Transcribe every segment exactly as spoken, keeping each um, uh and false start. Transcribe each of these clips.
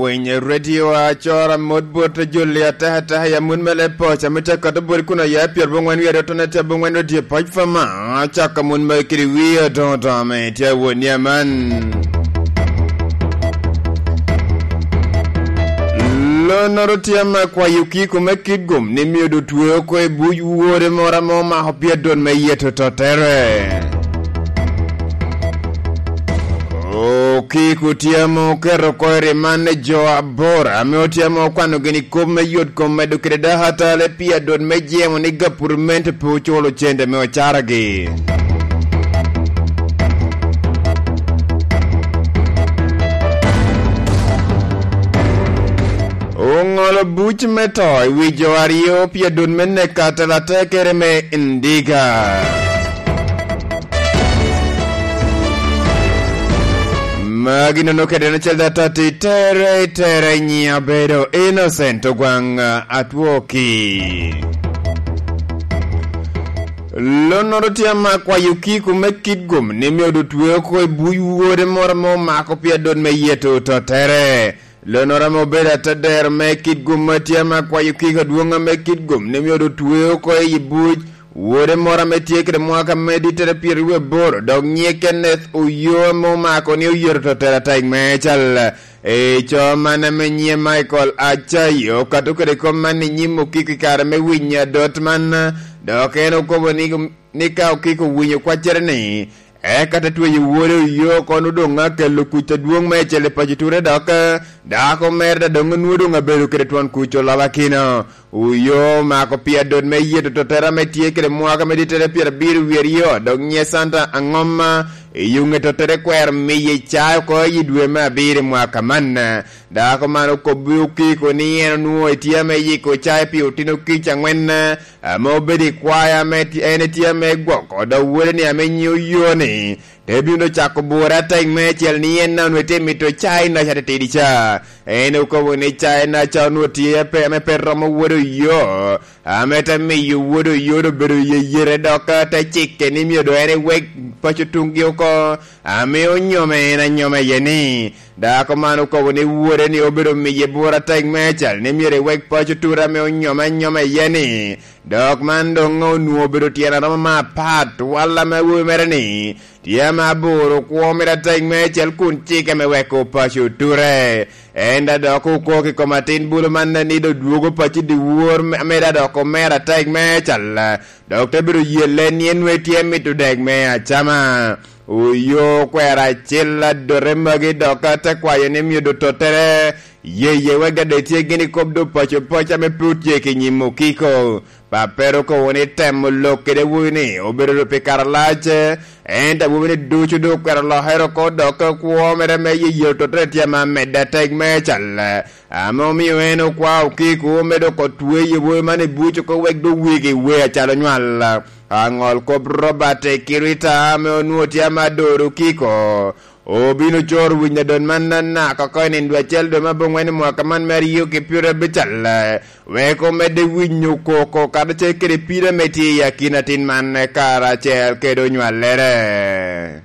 Piny redio acora mot bot joli ataka ataka ya mun mele poca me cakka to bot kun oya pyerabongwen wiye adottone tye abongwen redio poc fama. Acakka mun mele kiri wiye adoŋo doŋo ame tye awoni aman. Lonoro tye ame kwayo kiko me kit gum ni myero dotwe oko i buc wode moro ame omako pye dot me yeto tottere. Okiko tye ame oketo oko i riman ne jo aboro ame otye ame okwano gini kop me yot kom medo kede dako atale pi adot me jemo ni gapurmente pe oculo cente me ocaragi. Oŋolo buc me to i wi jo aryo pi adot me neko atela tekere me Ndiga. Magi nono kede en acel data ti tere, tere nyiŋ abedo Innocent Ogwaŋ Atwoki. Lonnoro tye ama kwayo kiko me kit gum ni myero otwe oko i buc wode moro ame omako pi adot me yeto tottere. Lonnoro ame obedo atedero me kit gum ma tye ama kwayo kiko adwoŋ ame kit gum ni myero otwe oko i buc wode moro ame tye kede mwaka me dittere pyeraryo aboro, dok nyiŋe Kenneth Oyoo ame omako ni oyeto tottere atek me cal. I co man ame nyiŋe Michael Acayo okato kede kop man i nyim okiko i kare me winyo adot man, dok en okobo ni, ni ka okiko owinyo kwaccere-ni, eka te tweyo wode Oyoo kono doŋ akelo kuc adwoŋ meicel i paco ture dok dako mere daŋ onwoŋo doŋ abedo kede twon kuc olaba kino. Oyoo omako pi adot me yeto tottere ame tye kede mwaka me dittere pyerabiro wie aryo, dok nyiŋe Santa Aŋoma, i yuŋe tottere kwero miye cayo oko i dwe me abiro i mwaka man. Dako man okobbi okiko ni en onwoŋo etye ame yiko cayo pi otino kic aŋwen, ame obedo i kwaya ame ti-, en etye ame gwoko, dok wode-ni ame nyiŋe Oyoo-ni, te bino cako bure atek meicel ni en daŋ onwoŋo etye mito cayi naca titidi ca. En okobo ni cayi naca onwoŋo tye pe, ame pe romo wode Oyoo, ame te miyo wode Oyoo doŋ obedo yeyere dok te cikke ni myero doŋ en ewek paco tuŋgi oko, ame onyome en anyoma iye ni. Dako man okobo ni wode-ni obedo miye bura atek meicel ni myero ewek paco ture ame onyome anyoma iye ni. Dok man doŋ onwoŋo obedo tyen aromo me apat, walla me awobi mere-ni tye ame aboro kwo mere atek meicel kun cike me weko paco ture. En daŋ dok okok i kom atin bulu man ni doŋ dwogo paco i dyewor me-, ame daŋ dok omero atek meicel, dok te bedo yelle ni en nwoŋo tye mito dek me acama. Oyoo okwero acel adote magi dok te kwayo ni myero doŋ tottere yeye wek daŋ doŋ etye gin i kop doŋ paco paco ame pe otye ki nyim okiko. Pappere okobo ni temo lok kede awobi-ni obedo pi kare alac, ento awobi-ni ducu doŋ okwero lokere oko dok kwo mere me yeyero tottere tye ame amedde atek meicel, ame omio en okwao okiko me dok otweyo awobi man i buc oko wek doŋ wegi we acalo nywal. Aŋol kop Robert Kirita ame onwoŋo tye ame adoro okiko, obino coro winyo adot man anaka oko i nino dwe acel dwe me abongwen i mwaka man me aryo ki pyerabicel, wek omedde winyo koko karacel kede pire ame tye i akina atin man karacel kede onywallere.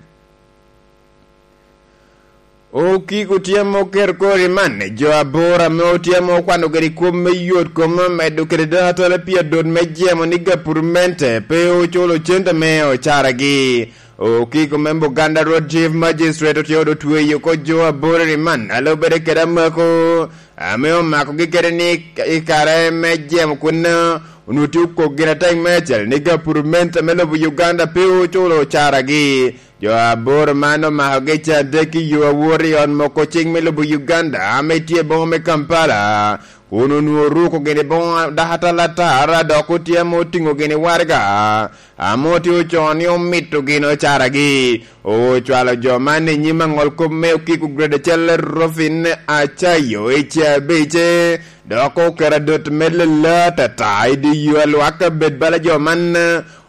Okiko tye ame oketo kori man, jo aboro ame otye ame okwano kede kop me yot kom me medo kede dano atala pi adot me jemo ni gapurmente pe oculo cente me ocaragi. Okiko me Buganda Road Chief Magistrate otye odo tweyo oko jo aboro i man, a lubere kede amako ame omakogi kede ni i kare me jemo kunno, onwoŋo tye okok gin atek meicel ni gapurment me lobo Uganda pe oculo ocaragi. Jo aboro man omakogi can adek i yo awot i ot moko cing me lobo Uganda ame tye i boma me Kampala, kun onwoŋo oruko gini boŋo dako atalatar, dok otye ame otiŋo gini waraga ame otye ocoo ni omito gin ocaragi. Ocwalo jo man i nyim aŋol kop me okiko grade acel Rufin Acayo i cabicce, dok oketo adot me lele atata i dye yo a lwak abed bala jo man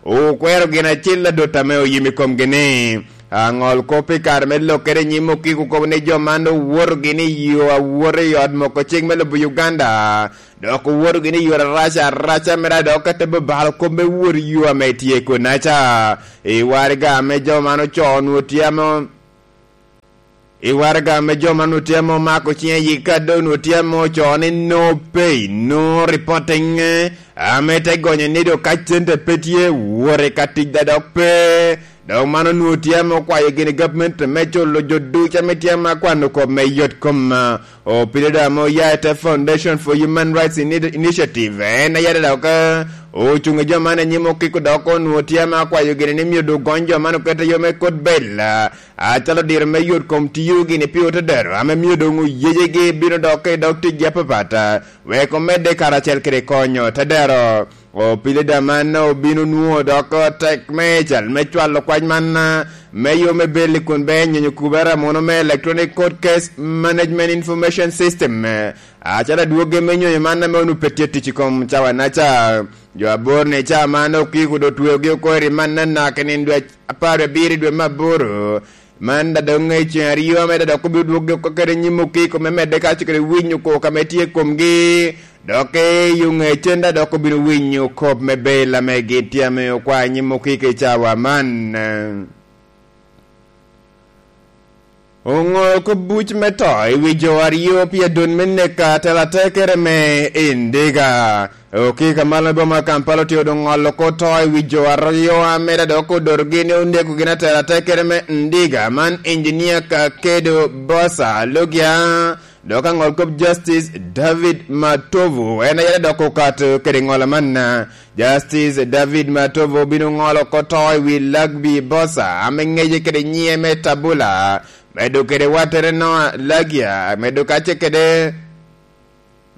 okwero gin acel adot ame oyim i komgi ni. Aŋol kop i kare me lokkere i nyim okiko okobo ni jo man owoto gini i yo awot i ot moko cik me lobo Uganda, dok owoto gini i yore arac araca mere, dok ate balo kop me wot i yo ame tye kunaca. I waraga ame jo man ocoo onwoŋo tye ame I waraga ame jo man otye ame omako cinge i kado, onwoŋo tye ame ocoo ni no pay, no reporting, ame te gonyo ni dok ka cente pe tye, wore ka tic da dok pe. Dok man onwoŋo tye ame okwayo gini gavment me culo jo ducu ame tye ame akwano kop me yot kom. Opilido ame oya i te Foundation for Human Rights Ini- Initiative, en aye dok ocuŋ i jo man anyim okiko, dok onwoŋo tye ame akwayo gini ni myero dok gony jo man okete yo me kot bel, acalo diro me yot kom tiyo gini pi otedero ame myero doŋ oyejegi bino dok i dog ticgi apapat, wek omedde karacel kede konyo otedero. Opilido man obino nwoŋo dok tek me cal me cwalo kwac man, me yo me beli kun be nyonyo kubere amuno me Electronic Court Case Management Information System, acalo adwogi me nyonyo man ame onwoŋo pe tye tic i kom cawa-naca. Jo aboro-ni ca man okiko dok otweogi oko i ri man anaka i nino dwe apar abiro i dwe me aboro. Man da doŋ i ceŋ aryo ame da dok obino dwoggi oko kede nyim okiko me medde ka kede winyo koko ame tye i komgi. Dok i yo ŋecen da dok obino winyo kop me bel ame gin tye ame okwa i nyim okiko i cawa man. Oŋo kop buc me to i wi jo aryo pi adon me neka atela tekere me Indiga. Okika malo i boma Kampala otye odoŋ ŋolo ko to i wi jo aryo ame da dok odotogi ni oneko gin atela tekere me Indiga man, Engineer Kakedo Bosa Logia, dok aŋol kop Justice David Matovu en aye da dok okato kede ŋolo man. Justice David Matovu obino ŋolo ko to i wi Lagbi Bosa ame ŋece kede nyiŋe me Tabula, medo kede wattere Noah Lagia, medo kace kede,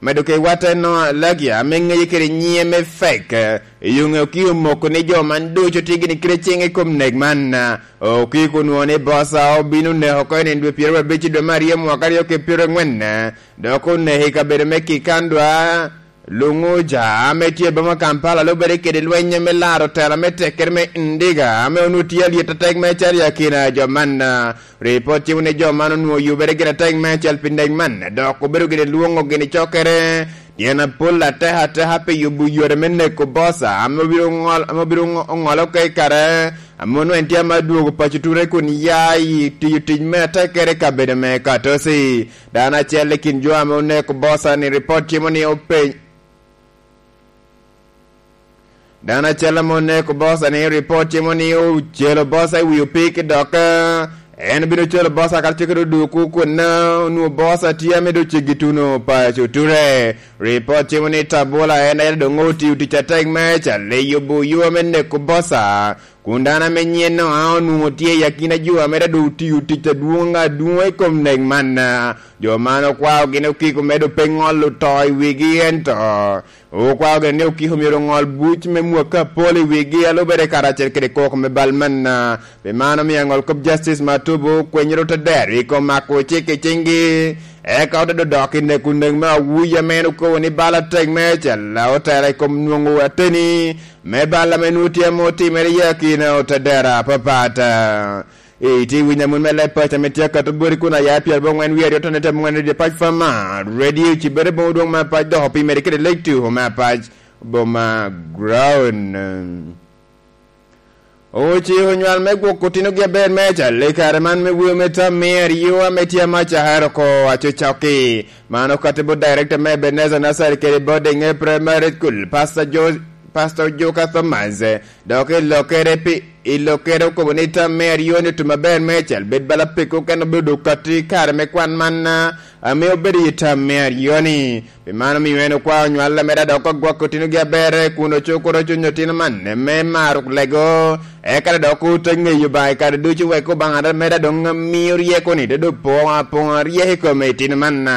medo kede watte Noah Lagia ame ŋece kede nyiŋe me Fek. Yuŋe okio omoko ni jo man ducu tye gini kede ciŋ i kom nek man. Okiko onwoŋo ni Bosa obino neko oko i nino dwe pyeraryo abic i dwe me aryo mwaka aryo ki pyeraryo aŋwen, dok oneko i kabedo me Kikandwa, Lunguja, ame tye i boma Kampala, lubere kede lweny me laro tela me tekere me Ndiga, ame onwoŋo tye alyet atek me cal i akina jo man. Ripot cimo ni jo man onwoŋo yubere gin atek me cal pi nek man, dok obedo gin lwoŋo gin cokere. Tyen apol atek ateka pi yubo yore me neko Bosa, ame obino ŋol-, ame obino ŋo-, ŋolo oko i kare, ame onwoŋo en tye ame adwogo paco ture kun ya i tiyo tic me atekere i kabedo me Katosi. Dano acel i kin jo ame oneko Bosa ni ripot cimo ni openy-, Dano acel ame oneko Bosa ni ripot cimo ni ocelo Bosa i wi opiki dok, eh, en obino celo Bosa kara ceke doduku kun, eh, onwoŋo Bosa tye ame doŋ ceggi tuno paco ture. Ripot cimo ni Tabula en aye doŋ otio tic atek me cal i yubo yo me neko Bosa, kun dano ame nyiŋe Noa onwoŋo tye i akina jo ame doŋ otio tic adwoŋ adwoŋ i kom nek man. Jo man okwao gin okiko me doŋ pe ŋolo to i wigi, ento okwao gin ni okiko myero oŋol buc me mwakki apol i wigi, a lubere karacel kede koko me bal man. Pi man omio aŋol kop Justice Matubu kwenyere otedero i kom mako cik i ciŋgi, eka ote dodok i neko nek me awuyi ame en okobo ni bal atek me cal otela i kom nwoŋo ateni me bal ame nwoŋo tye ame otimere i akina otedero apapat. Itye winyo amut me leb paco ame tye akato boti kun aya pyeraboro ŋwen wie aryo tone temo ŋwen radio pac fama radio cibere boŋo dwoŋ me pac dok opimere kede lake two me pac boma ground. Ociko nywal me gwoko otinogi aber me acal i kare man me weo me tam me aryo ame tye amaca hero ko aco coki. Man okati bot director me Ebenezer Nursery kede boarding e primary school, Pastor Jo-, Pastor Joka Thomas. Dok i lokere pi, i lokere okobo ni tam me aryo-ni otum aber me acal bed bala peko kene obedo kati kare me kwan man, ah, ame obedo i tam me aryo-ni. Pi mano omio en okwao nywal ame da dok ogwok otinogi aber kun ocukuro cuny otino man me maro lego, eka da dok ote ŋeyo Obaŋa i kare ducu wek Obaŋa da me da doŋ mio ryeko-ni dodo poŋ apoŋa ryeko i kome itino man.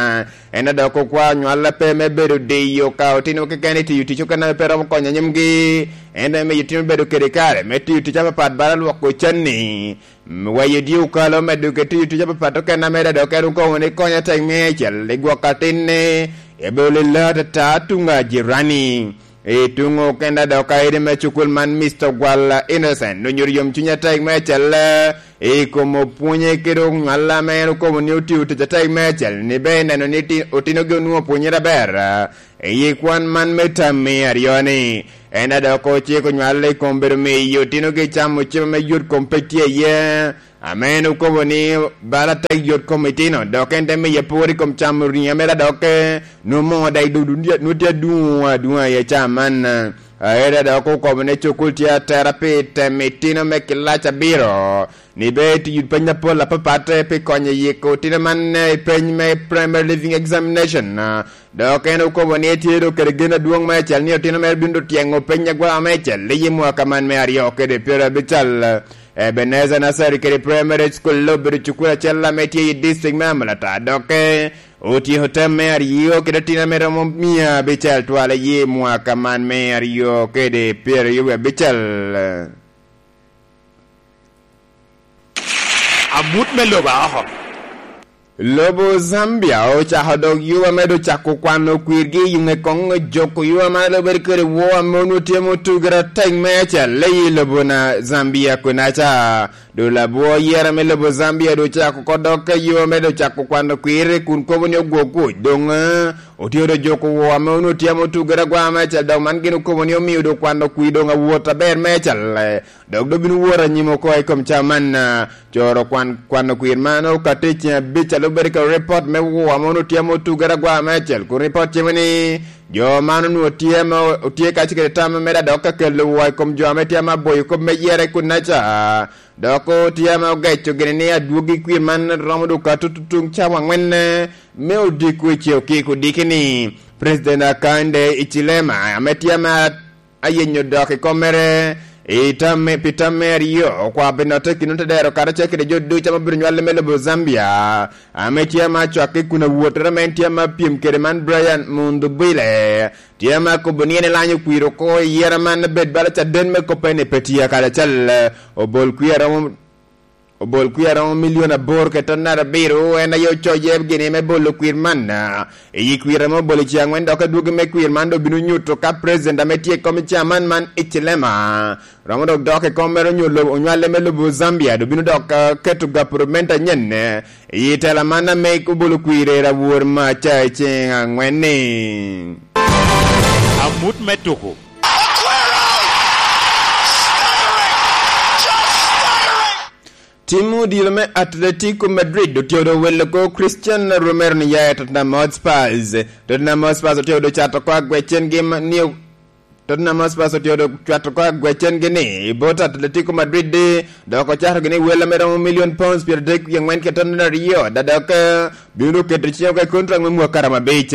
En a dok okwao nywal ape me bedo diyo ka otino keken i tiyo tic okene ame pe romo konyo anyimgi, ento me miyo otino bedo kede kare me tiyo tic apapat bala lwoko canni, m-, weyo dye okalo, medo kede tiyo tic apapat okene ame da dok en okobo ni konyo atek me acel i gwok atinne, ebedo lelo atata tuŋ ajirani. I tuŋ okene dok aide me cukul man, Mister Gwala Innocent, onyuto yomcuny atek me acel i kom opwonye kede onywal ame en okobo ni otio tic atek me acel, ni be neno ni ti-, otinogi onwoŋo opwonyere aber, eh, i kwan man me tam me aryo-ni. En a dok ociko nywal i kom bedo miyo otinogi camo cem ame yot kom pe tye iye, Ame en okobo ni bala tek yot kom itino, dok en te miye pwod i kom camo riŋo mere, dok, eh, nwoŋo moo daŋ i dul, nwoŋo tye adwoŋ adwoŋa i aca man. Aera dok okobo ni cukul tye atera pi temo itino me kilac abiro, ni be iti yut peny apol apapat, eh, pi konyo yiko itino man, eh, i peny me Primary Leaving Examination. Ah, dok en okobo ni etye doŋ kede gen adwoŋ meicel ni otino mere bino doŋ tyeŋo peny agwaka meicel i mwaka man me aryo kede pyerabicel. Ebenezer Nursery kede Primary School obedo cukul acel ame tye i district me Amolata, dok, eh, otyeko tem me aryo kede otino ame romo mia abicel twal i mwaka man me aryo kede pyeraryo wie abicel. Amut me lobo aoko. Lobo Zambia ocako dok yo ame doŋ cako kwano kwirgi i ŋe koŋ joko yo ame doŋ bedo kede woo ame onwoŋo tye motugere atek meicel i lobo na Zambia kunaca. Doŋ labwor yera me lobo Zambia doŋ ocako oko dok ka yo ame doŋ cako kwano kwir kun kobo ni ogwok kuc. Doŋ, eh, otye doŋ joko woo ame onwoŋo tye ame otugere agwa meicel, dok man gin okobo ni omio doŋ kwano kwir doŋ awot aber meicel. Dok doŋ bino wot anyim oko i kom ca man, ah, coro kwan, kwano kwir man okato i ceng abic, a lubere kede ripot me woo ame onwoŋo tye ame otugere agwa meicel, kun ripot cimo ni jo man onwoŋo tye ame o-, otye kacel kede tam me medde adok ka kelo woo i kom jo ame tye ame aboyo kop me yere kunaca, dok tye ame ogeco gini ni adwogi kwir man romo doŋ okato tutuŋ cawa aŋwen, eh, me odiko i ce okiko diki ni President Hakainde Hichilema ame tye ame ayenyo dok i kom mere i tam me, pi tam me aryo, okwao pi notte i kin otedero karacel kede jo ducu ame obedo nywale me lobo Zambia, ame tye ame acwakke kun awottere ame en tye ame apyem kede man, Brian Mundubile, tye ame akobo ni en elanyo kwir oko i yera man, bed bala caden me kop ene pe tye karacel, obol kwir aromo obol kwir aromo milion aboro kede ton nat abiro, en aye ocoye gini me bolo kwir man. I kwir ame obolo i ceng aŋwen, dok adwogi me kwir man doŋ bino nyuto ka president ame tye i kom i caman man, Hichilema, romo dok dok i kom mere onyo lobo, onywale me lobo Zambia, doŋ bino dok, ah, keto gapurumenta anyen, eh, i tela man ame obolo kwir i awor maca i ceng aŋwen-ni. Amut me tuko. Tim odilo me Atletico Madrid otye doŋ owelo oko Christian Romero ni ya i Tottenham Hotspurs. Tottenham Hotspurs otye doŋ cato oko agwecengi ma-, ni o-, Tottenham Hotspurs otye doŋ cato oko agwecengi ni i bot Atletico Madrid, dok ocato gini wel ame romo milion pounds pyeradek wie aŋwen kede ton aryo, da dok, eh, bino doŋ keto ciŋe oko i kontrak me mwaka romo abic.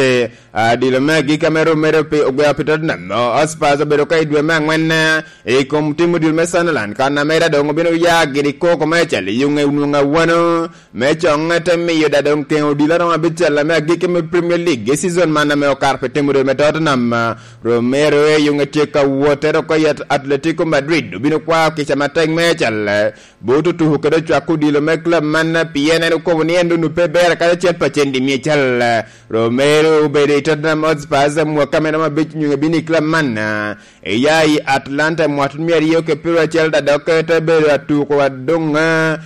Adilo me agikki ame Romero pe-, ogweo pi Tottenham, o-, Hotspurs obedo ka i dwe me aŋwen, eh, i kom tim odilo me Sunderland, kan ame da doŋ obino ya gini koko meicel i yuŋe nwoŋo awano, me coŋe te miyo da doŋ keŋo odilo aromo abicel ame agikki me Premier League i season man ame okato pi tim odilo me Tottenham. Romero i yuŋe tye ka wot, ento oko i At-, Atletico Madrid obino kwao kica matek meicel, eh, bot otuko kede ocwak odilo me club man, pien en okobo ni en doŋ pe ber kadi acel pacen i mia acel. Romero obedo i Tottenham Hotspurs mwaka mere romo abic onyo bino i club man, eh, eya i Atlanta mwaka tut mia aryo kede pyeraryo acel, da dok te bedo atuko adoŋ, eh,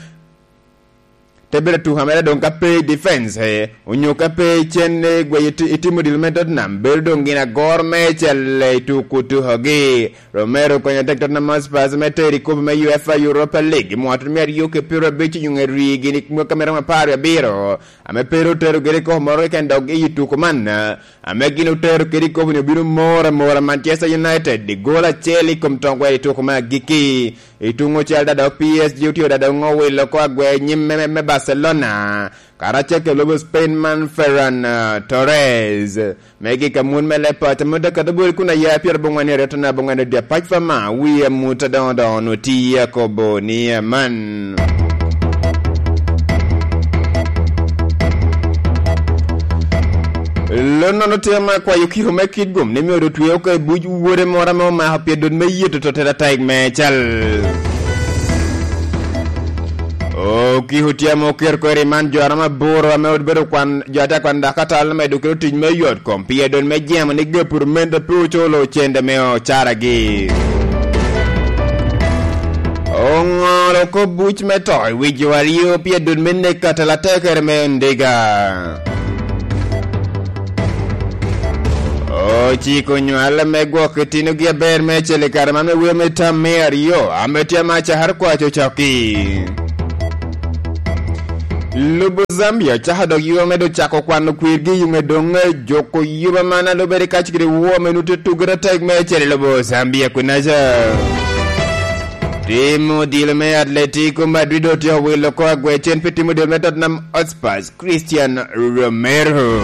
te bedo atuko mere doŋ ka pe i defense, eh, onyo ka pe i cen, eh, gweyo iti-, itimo dilo me Tottenham, bedo doŋ gin agoro meicel i tuko tukogi. Romero okonyo tek Tottenham Hotspurs me tero i kopo me UEFA Europa League i mwaka tut mia aryo kede pyeraryo abic onyo ri gini mwaka mere romo apar wie abiro, ame pe ru tero giri i kopo moro keken dok i tuko man, ame gin otero kede i kopo ni obino moro amora Manchester United i gol acel i kom tongwel i tuko me agikki. I tuŋ ocel da dok P S G otye da dok owilo oko agwe nyim me, me, me Barcelona, karacel kede lobo Spain man Ferran, eh, Torres. Me gik amut me leb paco, amut akato bwol kun aya pyerabongwen aryo tona bongwen odya pac pa ma, wi amut adoŋo doŋo nu ti akobo ni aman. Lonnono tye ma kwayo kiko me kit gum ni myero otwe oko i buc wode moro ame omako pye dot me yito to tera taik me cal. Okiko tye ame oketo kweri man jo aroma aboro ame obedo kwan, jo ate kwan dok atal me dukiro tic me yot kom pye dot me jemo ni gapur mente pe oculo cende me ocaragi. Oŋolo kop buc me to i wi jo aryo pye dot me nek atal atekere me ndiga. Ociko nywal me gwok itinogi aber me acel i kare man me wer me tam me aryo, ame tye ama cakere kwaco cokki. Lobo Zambia cako dok yome dok cako kwano kwirgi i yume doŋ juko yuba man a lubere kacigire wo me nute tugere atek me cere lobo Zambia kunaca. Tim odilo me Atletico Madrid otye owilo oko agwecen pi tim odilo me Tottenham Hotspurs, Christian Romero.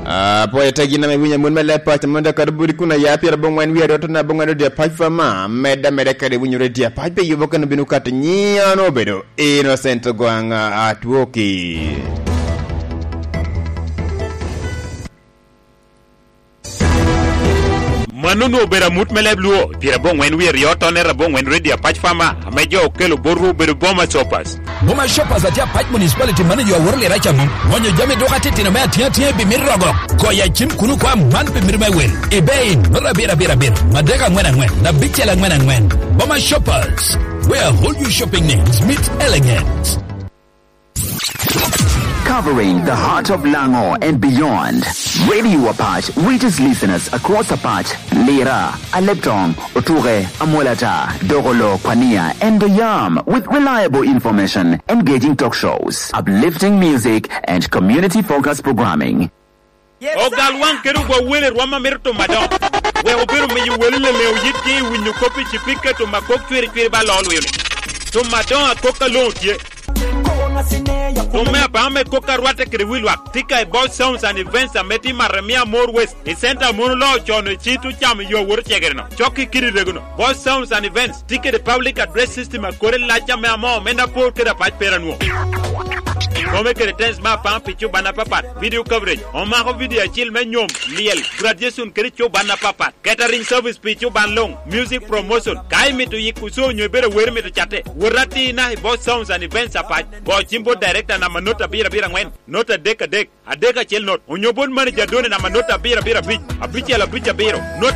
Apoya tagi na me winyo amon me leb pac, amon dakar budi kun aya pyer aboŋwen wie aryo tona aboŋwen odi apac fama, medda medda kede winyo redi apac pe yubo kano bino kato nyiano obedo Innocent Ogwang Atwoki. Mano onwoŋo obedo amut me leb Lwo, pyer aboŋwen wie aryo, tonere aboŋwen redi apac fama, ame jo okelo botwu obedo Boma Shoppers. Boma Shoppers atye apac municipality manager aworo lira caŋo, gonyo jami duka titino me atyeŋ atyeŋ i bimit rogo. Goyo acim kuno kwa man bimit me wel. Ebay, nota abiro abiro abiro, madek aŋwen aŋwen, abicel aŋwen aŋwen. Boma Shoppers, where all your shopping needs meet elegance. Covering the heart of Lango and beyond, Radio Apac reaches listeners across Apac, Lira, Aleptong, Otuke, Amolata, Dogolo, Kwania, and Oyam with reliable information, engaging talk shows, uplifting music, and community-focused programming. Ogal waŋ kede ogwa wele rwom a mito timo adoŋo. Wek obed omiyo wele leleŋo yitgi i winyo kop i cipika timo akok cwiri cwiri ba loo lwilo. Timo adoŋo akok a loŋo tye. Timo me abaŋo me kok a rwatte kede wi lwak. Tika i Boss Sounds and Events ame tye i Maremia More West, i center a mono loo con i cit ocamo yo awot ocegere-no. Cok i kidi rego-no. Boss Sounds and Events tye kede public address system a kore lac ame amoo omenda apor kede apac pera nwo. Kome kede tens me apaŋ pi cuban apapat, video coverage, omako video acil me nyom, lyel, graduation kede cuban apapat, catering service pi cuban luŋ, music promotion, ka imito yiko show onyo ibedo awero imito catte, wot atina i Boss Sounds and Events Apac, go cim bot director namba not abiro abiro aŋwen, not adek adek, adek acel not, onyo bot manager Done namba not abiro abiro abic, abicel abic abiro, not